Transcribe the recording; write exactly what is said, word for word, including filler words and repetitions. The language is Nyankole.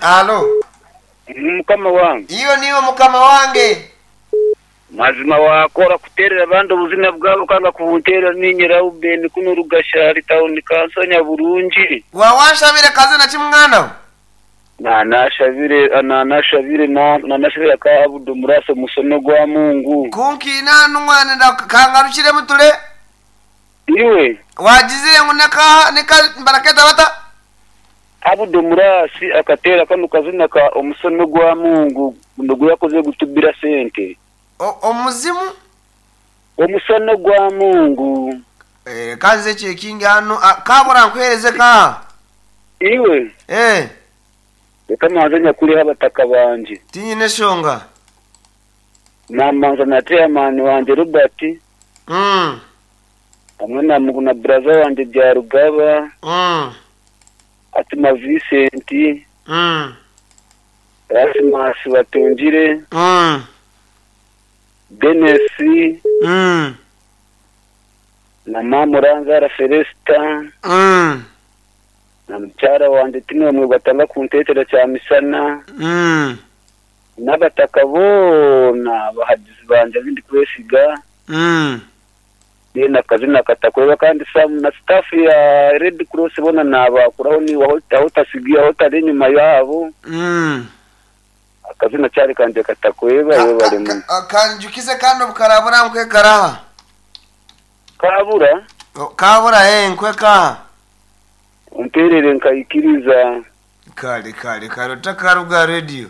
Alo. Mukama wange. Iyo niyo mukama wange. Mazima wakora kuterera abandi obuzina bwabo kanga kubunterera ninye Reuben kuno Rugashari town kansanya burungi. Wawanshabire kazina ki mwana we? Nanashabire nanashabire na nanashabire ka Abudu Murasa musono gwa Mungu. Kunkiina numwana nda kangarukire mutule. Iwe Wagizire ngu neka neka baraketa bata? Abudu Murasi akatera kano kazina ka omusono gwa Mungu ndugu yakoze gutubira sente. O- Omuzimu? Omusono gwa Mungu. Eh, kanze ekingi hano ah, kabura nkuhereze ka. Iwe Eh, reka manze nyakuriho abataka banje. tinyine shonga. Namanza na chairman wanje Robert Mm. hamwe na na brother wanje Byarugaba Mm. Atima Vincent Mm. Rasmus Batungire Mm. Dennis Mm. na Mamuranzara Celesta Mm. na mukyara wanje Tinomwe batanga kuntetera kya misana Mm. n'abataka boona abahagizi banje abindi kwesiga Mm. then akazina katakweba kandi sam na staff ya Red Cross bona nabakuraho ni aho aho tasigiye aho tari inyuma yabo Mm. akazina cyari kanje katakweba Ka- yo ka- bari mu ka- kanjukize kandi obukarabura nkwekaraha. kabura O, Kabura eh nkwekaha. umperere nkayikiriza Kale kale kale otakaruga radio.